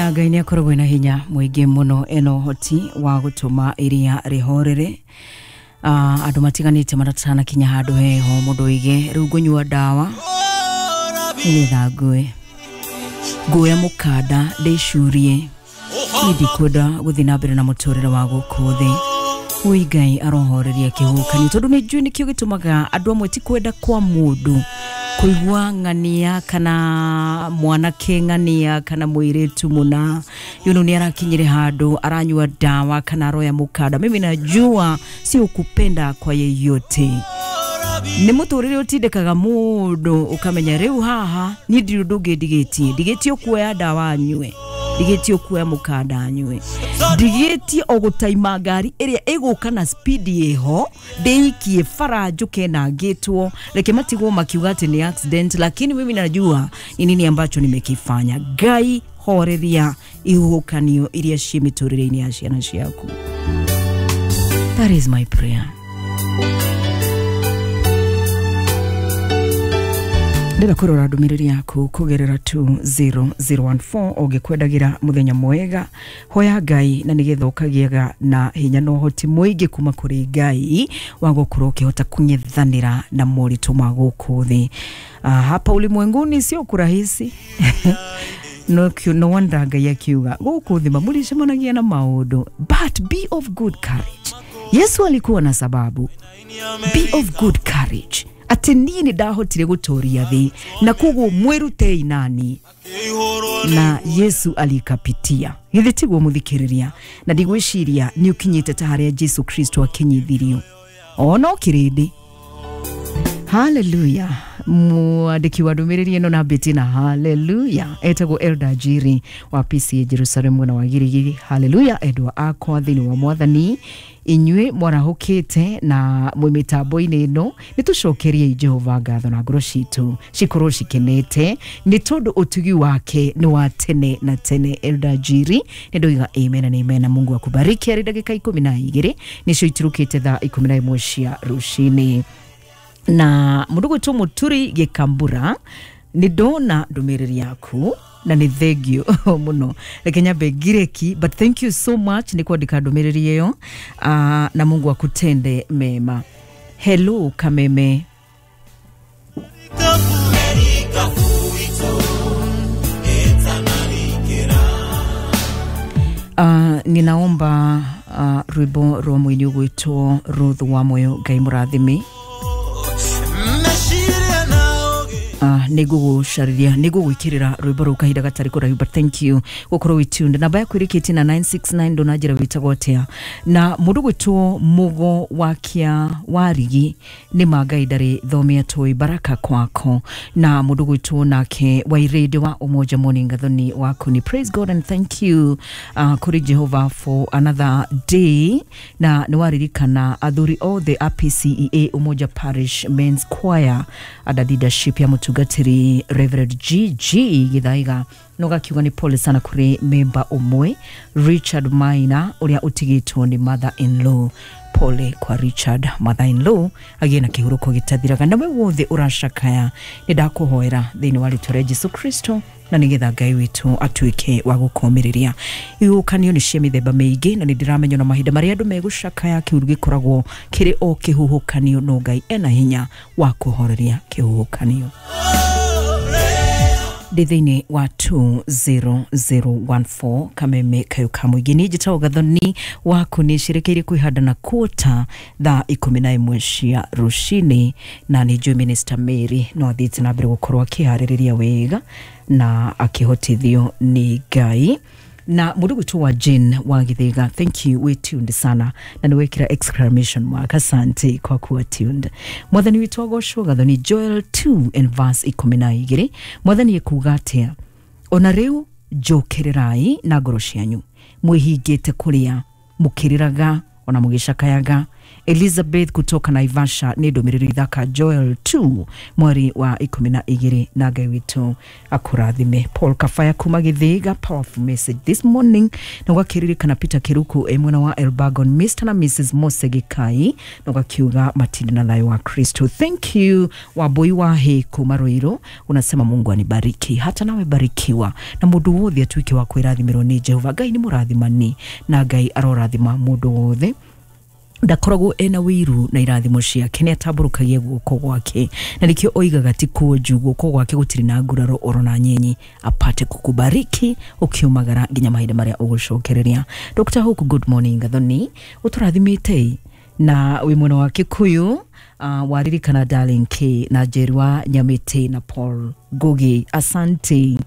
Na Ngai nĩ akoragwo na hinya mũingĩ mũno, ena ũhoti wa gũtũma iria rĩhorere. Andũ matiganĩte maratanakinya handũ heho, mũndũ oige rĩu ngũnyua ndawa nĩgetha ngue, nguoya mũkanda ndĩcurie, niĩ ndikwenda gũthiĩ na mbere na mũtũrĩre wa gũkũ thĩ. Ui, Ngai arohoreria kĩhuhũkanio, tondũ nĩ njũĩ nĩkĩo gĩtũmaga andũ amwe, ti kwenda kwa mũndũ kũigua ng'ania kana mwanake ng'ania kana mũirĩtu mũna yuno nĩ arakinyire handũ aranyua dawa kana aroya mũkanda. Mimi najua sio kupenda kwa yeyote, nĩ mũtũrĩre ũtindĩkaga mũndũ ũkamenya rĩu haha niĩ ndirĩ ũndũ ũngĩ ndigĩtie, ndigĩtie kuoya ndawa nyue, ndigĩtie kuoya mũkanda nyue, ndigĩtie o gũtaima ngari ĩrĩa ĩgũka na speed ĩho, ndĩikie bara njũke na ngĩtwo, reke matigwo makiuga atĩ nĩ accident, lakini mimi najua ni nini ambacho nimekifanya. Ngai horeria ihuhũkanio iria ciĩ mĩtũrĩre-inĩ ya ciana ciaku. That is my prayer. Ndĩrenda kũrora ndũmĩrĩri yaku kũgerera 20014. Ũngĩkwendagira mũthenya mwega, hoya Ngai na nĩgetha ũkagĩaga na hinya na ũhoti mũingĩ kuma kũrĩ Ngai wa gũkorwo ũkĩhota kũng'ethanĩra na moritũ ma gũkũ thĩ. Hapa ulimwenguni sio kurahisi. No wonder Ngai akiuga gũkũ thĩ mamũricemanagia na maũndũ, but be of good courage. Yesu alikuwa na sababu, be of good courage, atĩ niĩ nĩ ndahotire gũtũria thĩ na koguo mwĩrutei nani, na Yesu alikapitia. Githĩ tiguo, mũthikĩrĩria? Na ndigwĩciria nĩ ũkinyĩte ta harĩa Jesu Kristo akinyithirio ona kĩrĩndĩ. Haleluya! Mwandĩki wa ndũmĩrĩri ĩno na mbĩti na haleluya etagwo Elda Jiri wa PCA Jerusalem, mwena wa Girigiri. Haleluya, endwa akwa thĩinĩ wa Mwathani, inyuĩ mwarahũkĩte na mwĩ mĩtambo-inĩ ĩno, nĩ tũcokeriei Jehova ngatho na ngoro citũ cikorwo cikenete nĩ tondũ ũtugi wake nĩ wa tene na tene. Elda Jiri, nĩ ndoiga amen na amen na Mungu akubariki. Arĩ ndagĩka 12 nĩcio itirũkĩte thaa 11 cia rũcinĩ, na mũndũ gwĩtwo Mũturi Gĩkambura, nĩ ndona ndũmĩrĩri yaku na nĩ thengio mũno. Reke nyambe ngireki, but thank you so much nĩ kwandĩka ndũmĩrĩri ĩyo, na Mungu akutende mema. Hello Kameme. Ninaomba rwimbo rwa mũini ũgwĩtwo Ruth wa Moyo. Ngai mũrathime. Nĩ ngũgũcarĩria, nĩ ngũgwĩkĩrĩra rwĩmbo rũu kahinda gatarĩ kũraihu, but thank you gũkorwo wĩ tuned. Namba yaku ĩrĩkĩtie na 969, ndũnanjĩra wĩtagwo atĩa. Na mũndũ gwĩtwo Mũgo wa Kĩa Warigi, nĩ ma Ngai ndarĩ thomia tũĩ, baraka kwako. Na mũndũ gwĩtwo nake Wairĩndĩ wa Umoja Morning, Gathoni waku ni praise God and thank you kũrĩ Jehova for another day, na nĩ waririkana athuri othe a PCEA Umoja Parish Men's Choir under leadership ya mũtungatĩri Reverend GG Githaiga, no gakiuga nĩ pole sana kũrĩ memba ũmwe Richard Maina ũrĩa ũtigĩtwo nĩ mother in law. Pole kwa Richard, mother in law agĩe na kĩhurũko gĩtathiraga. Na we wothe ũracakaya, nĩ ndakũhoera thĩinĩ wa rĩtwa rĩa Jesu Kristo na nĩgetha Ngai witũ atuĩke wa gũkũmĩrĩria. Ihuhũkanio nĩ cia mĩthemba mĩingĩ, na nĩ ndĩramenya na mahinda marĩa andũ megũcakaya kĩuru gĩkoragwo kĩrĩ o kĩhuhũkanio, no Ngai ena hinya wa kũhoreria kĩhuhũkanio. Ndĩ thĩinĩ wa 20014 Kameme kayo ka mũingĩ, niĩ njĩtagwo Gathoni waku, nĩ cirekeire kwĩhanda na kũta thaa 11 cia rũcinĩ, na nĩ njũĩ Minister Mary no athiĩte na mbere gũkorwo akĩharĩrĩria wega na akĩhotithio nĩ Ngai. Na mũndũ gwĩtwo wa Jane wa Githĩga, thank you, we tuned sana na nĩ wekĩra exclamation mark. Asante kwa kuwa tuned. Mwathani witũ agocwo. Gathoni, Joel 2 and verse 12, Mwathani ekuga atĩa? Ona rĩu njũkĩrĩrai na ngoro cianyu, mwĩhingĩte kũrĩa, mũkĩrĩraga ona mũgĩcakayaga. Elizabeth kutoka Naivasha nĩ ndũmĩrĩri ithaka Joel 2 mweri wa 12 na Ngai witũ akũrathime. Paul Kafaya kuma Githiga, powerful message this morning. Na ũgakĩririkana Peter Kiruku e mwena wa Elbagon, Mr na Mrs Mose Gikai, na ũgakiuga matinde na thayũ wa Kristo. Thank you Wambui wa Hĩ kuma Ruiru, unasema Mungu anibariki, hata nawe barikiwa, na mũndũ wothe atuĩke wa kwĩrathimĩrwo nĩ Jehova. Ngai nĩ mũrathimani na Ngai arorathima mũndũ wothe ndakoragwo ena wĩiru na irathimo ciake, nĩ atambũrũkagia guoko gwake, na nĩkĩo oigaga ti kuonju guoko gwake gũtirĩ na nguraro oro na nyenyi, apate kukubariki ũkiumagara nginya mahinda marĩa ũgũcokereria. Dr. Hope, good morning. Gathoni ũtũrathimĩte na wĩ mwena wa Kikuyu, waririkana Darling K na Jerua Nyamĩtĩ na Paul Ngugi, asante.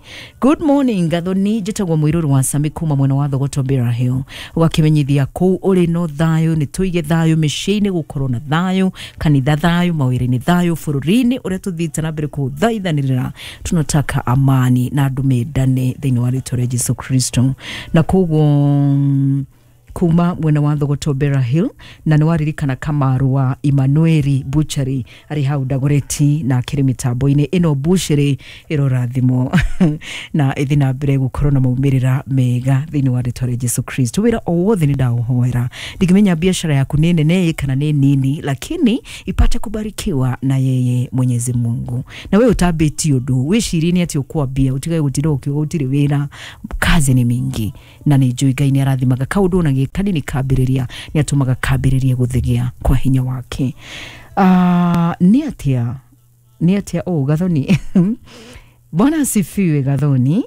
Good morning Gathoni, njĩtagwo Mũirũrũ wa Sami kuma mwena wa Thogoto Bear Hill, ũgakĩmenyithia kũu ũrĩ no thayũ, nĩ tũige thayũ mĩciĩ-inĩ, gũkorwo na thayũ kanitha, thayũ mawĩra-inĩ, thayũ bũrũri-inĩ ũrĩa tũthiĩte na mbere kũthaithanĩrĩra, tunataka amani na andũ mendane thĩinĩ wa rĩtwa rĩa Jesu Kristo. Na koguo kuma mwena wa Thogoto Bear Hill, na nĩ waririkana Kamaru wa Emmanueli Butchery arĩ hau Dagoretti na akĩrĩ mĩtambo-inĩ ĩno Butchery ĩrorathimwo na ĩthiĩ na mbere gũkorwo na maumĩrĩra mega thĩinĩ wa rĩtwa rĩa Jesu Kristo. Wĩra o wothe nĩ ndaũhoera, ndingĩmenya biashara yaku nĩ nene kana nĩ nini, lakini ipate kubarikiwa na yeye Mwenyezi Mungu. Na we ũtambĩtie ũndũ wĩcirie nĩ atĩ ũkwambia, ũtigage gũtinda ũkiuga gũtirĩ wĩra, kazi nĩ mingi, na nĩ njũĩ Ngai nĩ arathimaga kaũndũ ona gĩ kanini kambĩrĩria nĩ atũmaga kambĩrĩrie gũthegea kwa hinya wake. Nĩ atĩa nĩ atĩa ũũ Gathoni? Bwana asifiwe Gathoni.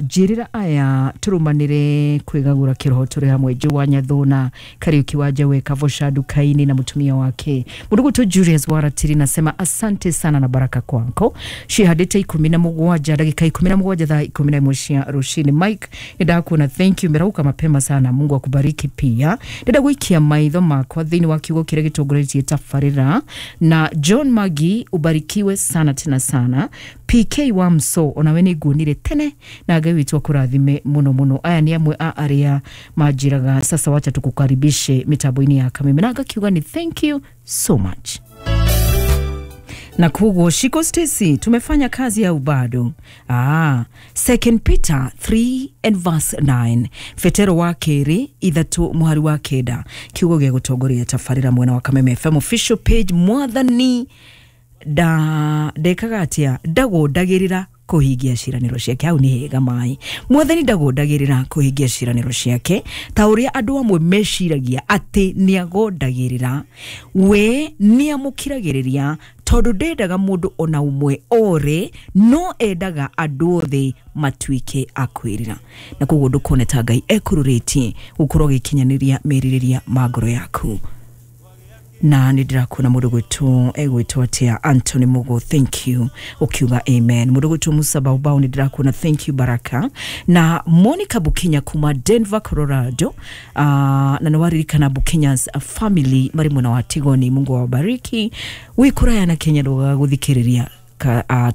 Njĩrĩra aya tũrũmanĩre kwĩgagũra kĩroho tũrĩ hamwe, Joa Nyathuna Kariuki wa Njawe Kavosha Dukaini na mũtumia wake mũndũ Julius Waratiri, nasema asante sana na baraka kwako. Cihandĩte 17 ndagĩka 17 thaa 11 cia rũcinĩ. Mike nĩ ndakuona, thank you, merauka mapema sana, Mungu akubariki pia. Ndĩrenda gũikia maitho makwa thĩinĩ wa kiugo kĩrĩa gĩtongoretie tabarĩra na John Magi, ubarikiwe sana tena sana. PK wa Mso, onawe nĩ nguonire tene na Ngai witũ akũrathime mũno mũno. Aya nĩ amwe a arĩa manjĩraga sasa wacha tukukaribishe mitambo-inĩ ya Kameme, na ngakiuga ni thank you so much. Na koguo Shiko Stacy, tumefanya kazi au bado? Second Peter 3 and verse 9, Fetero wa kerĩ 3 mũhari wa 9, kiugo gĩa gũtongoria tabarĩra mwena wa Kameme FM official page. Mwathani ndekaga atĩa? Ndagũndagĩrĩra kũhingia ciĩranĩro ciake. Hau nĩ hega maĩ. Mwathani ndagũndagĩrĩra kũhingia ciĩranĩro ciake ta ũrĩa andũ amwe meciragia atĩ nĩ agondagĩrĩra. We nĩ amũkiragĩrĩria tondũ ndendaga mũndũ ona ũmwe ore, no endaga andũ othe matuĩke a kwĩrira. Na koguo ndũkone ta Ngai ekũrũrĩtie gũkorwo agĩkinyanĩria merirĩria ma ngoro yaku. Na nĩ ndĩrakuona mũndũ gwĩtwo egwĩtwo atĩa, Anthony Mugo, thank you, ũkiuga amen. Mũndũ gwĩtwo Musa Baubau nĩ ndĩrakuona, thank you Baraka. Na Monica Bukinya kuma Denver, Colorado, na nĩ waririkana Bukinya's family marĩ mwena wa Tigoni, Mungu awabariki. Wĩ kũraya na Kenya ndũgaga gũthikĩrĩria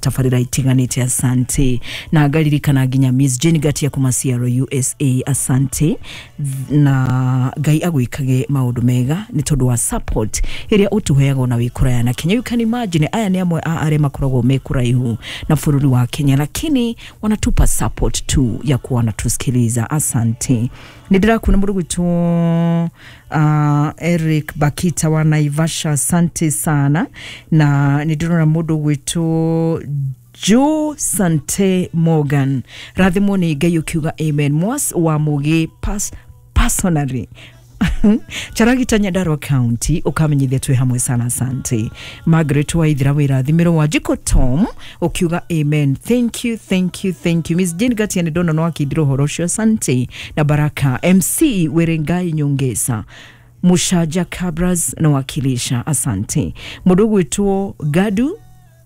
tabarĩra itiganĩte, asante. Na ngaririkana nginya Miss Jane Gatia kuma Seattle USA, asante. Na Ngai agwĩkage maũndũ mega nĩ tondũ wa support ĩrĩa ũtũheaga ona wĩ kũraya na Kenya. You can imagine aya nĩ amwe a arĩa makoragwo me kũraihu na bũrũri wa Kenya, lakini wanatupa support tu ya kuwa wanatusikiliza, asante. Nĩ ndĩrakuona mũndũ gwĩtwo Eric Bakita wa Naivasha, asante sana. Na nĩ ndĩrona mũndũ gwĩtwo Joe Sante Morgan, rathimwo nĩ Ngai ũkiuga amen. Mwas wa Mũgĩ personally Charagita Nyandarua County ukamenyithia twĩ hamwe sana, asante. Margaret Waithira wĩrathimĩrwo wa Jiko Tom ukiuga amen, thank you, thank you, thank you. Miss Jane Gatia nĩ ndona no akindira ũhoro ũcio, asante. Na Baraka MC Werengai Nyongesa Mushaja Cabras na wakilisha, asante. Mũndũ gwĩtwo Gadu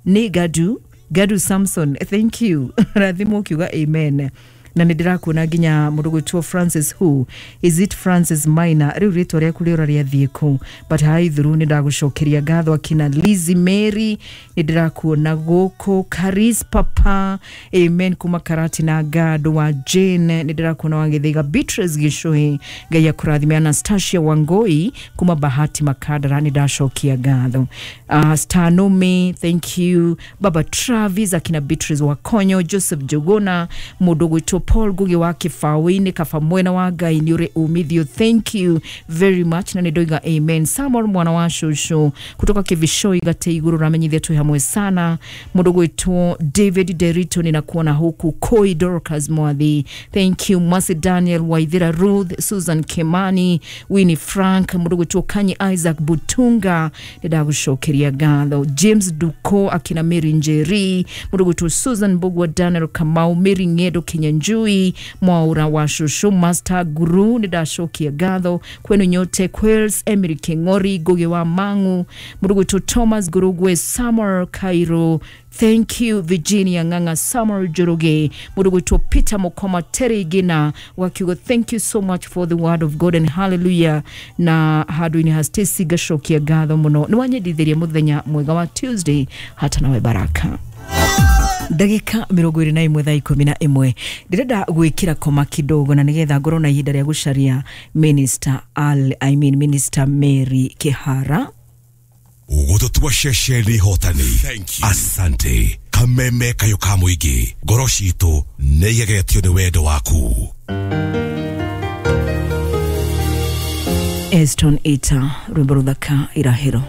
nĩ Gadu Gadu Samson, thank you, rathimwo ukiuga amen. Na nä ndä rakuona nginya må ndå gwä Francis, who is it? Francis Maina, rä u rä twa rä aku rä ora rä athiä kå? But haithuru nä ndagå ngatho. Akina Lizzy Mary, nä ndä rakuona gå kå. Caris Papa, amen, kuma Karati na Gado wa Jane, nä ndä rakuona wa Gĩthĩga. Beatrice Gĩcũhĩ, Ngai akũrathime. Anastasia Wangoi kuma Bahati Makadara, nä ndacokia ngatho. Stanome, thank you. Baba Travis, akina Beatrice Wakonyo, Joseph Jogona, mũndũ gwĩtwo Paul Ngugi wa Kĩbaũ-inĩ, kaba mwena wa Ngai nĩ ũrĩ umithio, thank you very much, na nĩ ndoiga amen. Samuel mwana wa shosho kutoka Kivishoi gate igũrũ, ramenyithia twĩ hamwe sana. Mũndũ gwĩtwo David Derito, ninakuona huku. Koi Dorcas Mwathi, thank you. Masi Daniel Waithira, Ruth Susan Kimani, Winnie Frank, mũndũ gwĩtwo Kanyi Isaac Butunga, nĩndagũcokeria ngatho. James Duko, akina Mary Njeri, mũndũ gwĩtwo Susan Mbugua, Daniel Kamau, Mary Ng'endo Kinyanjui, Mwaura wa Shushu, Master Guru, nĩndacokia ngatho kwenu nyote. Quails Emily King'ori, Ngugi wa Mang'u, mũndũ gwĩtwo Thomas Ngurugwe, Samuel Cairo, thank you. Virginia Ng'ang'a, Samuel Njoroge, mũndũ gwĩtwo Peter Mukoma, Terry Gina wakiuga thank you so much for the word of God and hallelujah. Na handũ-inĩ ha Stacy ngacokia ngatho mũno, nĩ wanyendithirie mũthenya mwega wa Tuesday. Hata nawe baraka. Ndagĩka 21 thaa 11, ndĩrenda gwĩkĩra koma kidogo na nĩgetha ngorwo na ihinda rĩa gũcaria Minister Al, I mean Minister Mary Kihara. Gũtũtua ceceni hotani. Asante kameme kayo ka mũingĩ, ngoro citũ nĩ igegetio nĩ wendo waku. Eston Ita, rwĩmbo rũthaka, Irahĩro.